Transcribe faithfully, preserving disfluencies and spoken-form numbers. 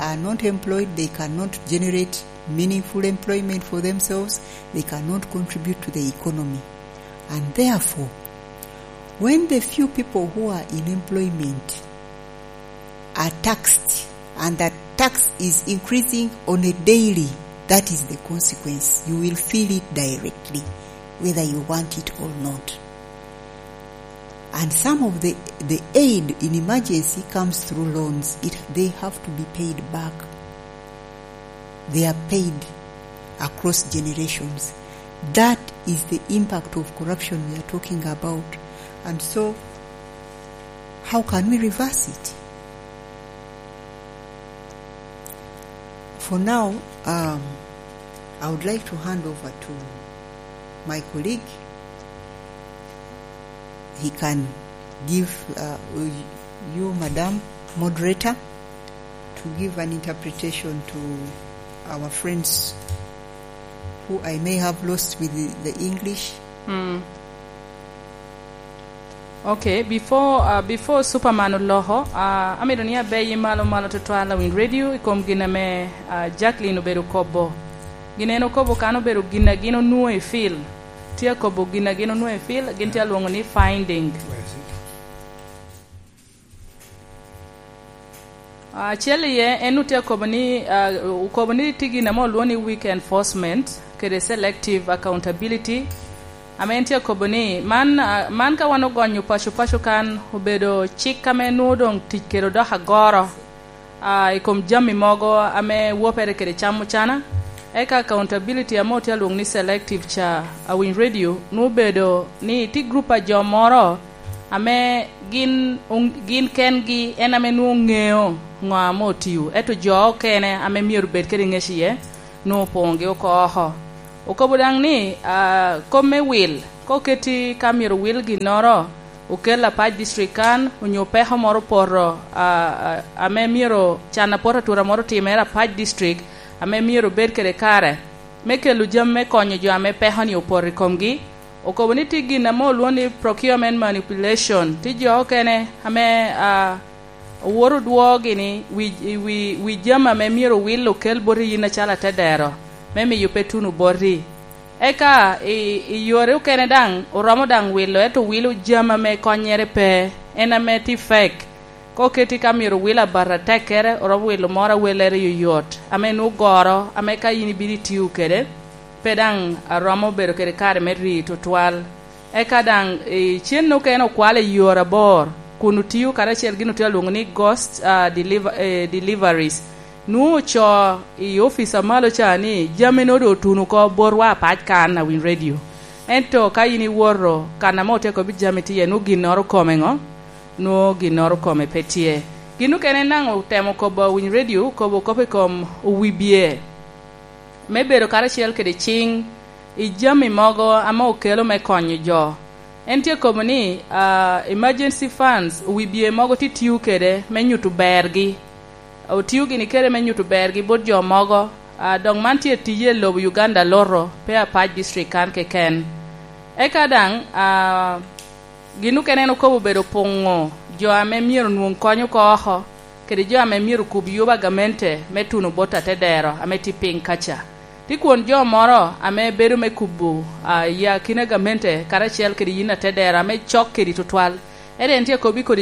are not employed, they cannot generate meaningful employment for themselves, they cannot contribute to the economy. And therefore, when the few people who are in employment are taxed, and that tax is increasing on a daily, that is the consequence. You will feel it directly, whether you want it or not. And some of the, the aid in emergency comes through loans. It, they have to be paid back. They are paid across generations. That is the impact of corruption we are talking about. And so, how can we reverse it? For now, um, I would like to hand over to my colleague. He can give, uh, you, Madam Moderator, to give an interpretation to our friends who I may have lost with the, the English. Mm. Ok, before, uh, before Superman oloko, uh, amito ni abeyi malo malo tutwal awiny radio i kom gin ame, uh, Jacqueline obedo kobo. Gin en okobo kan obedo gin a gin onwoŋo i field. Tye akobo gin a gin onwoŋo i field, gin tye alwoŋo ni finding. Acel iye en otye akobo ni, ah, okobo ni tye gin ame olwoŋo ni weak enforcement kede selective accountability, ame en tye akobo ni man, ah, man ka wan ogonyo paco paco kan obedo cik ame nwoŋo doŋ tic kede odoko agoro, ah, i kom jami mogo ame wopere kede cam ocana, eka accountability ame otye alwoŋo ni selective ca, awiny radio, nwoŋo obedo ni tye grup a jo moro ame gin, gin kengi en ame nwoŋo ŋeo ŋo ame otio, ento jo okene ame myero bed kede ŋec iye, nwoŋo opoŋogi oko oko. Okobo daŋ ni, ah, kop me wil, ka oketi ka myero wil ginnoro, okel Apac District kan, onyo peko moro opoto, ah, ah, ame myero can apot atura moro otimere Apac District, ame myero bed kede kare, me kelo jami me konyo jo ame peko-ni opoto i komgi, okobo ni tye gin ame olwoŋo ni procurement manipulation. Tye jo okene ame, ah, owoto odwogo gini wi, wi, wi jami ame myero owil okel boti yin acalo atedero, me miyo pe tuno boti. Eka i, i yore okene daŋ, oromo daŋ wilo, ento wilo jami ame konnyere pe, en ame tye fek. Ka oketi ka myero wil abat atekkere, oromo wilo moro a wellere yoyot, ame nwoŋo goro, ame ka yin ibino itio kede, pe daŋ aromo bedo kede kare me ri tutwal. Eka daŋ, eh, cen okene okwalo i yore abor, kun otio karacel gin otye alwoŋo ni ghost, ah, deliver-, eh, deliveries. Nwoŋo oco i opic a malo ca ni jami nwoŋo doŋ otuno oko botwa apac kan awiny radio. Ento ka yin iwoto kan ame otye akobo jami tye iye, nwoŋo ginnoro kome ŋo? Nwoŋo ginnoro kome pe tye. Gin okene en daŋ otemo kobo awiny radio, kobo kop i kom owibye me bedo karacel kede ciŋ i jami mogo ame okelo me konyo jo. En tye kobo ni, ah, emergency funds, owibye mogo tye tio kede me nyuto bergi. Otio gini kede me nyuto bergi bot jo mogo, ah, dok man tye tije i lobo Uganda loto, pe Apac District kan keken. Eka daŋ, ah, gin okene en okobo obedo puŋo jo ame myero onwoŋ kony oko oko, kede jo ame myero okub yuba gamente me tuno bot atedero ame tye piny kaca. Tye kwon jo moro ame bedo me kubo, ah, i akina gamente karacel kede yin atedero ame cok kedi tutwal. Ento en tye akobo i kodi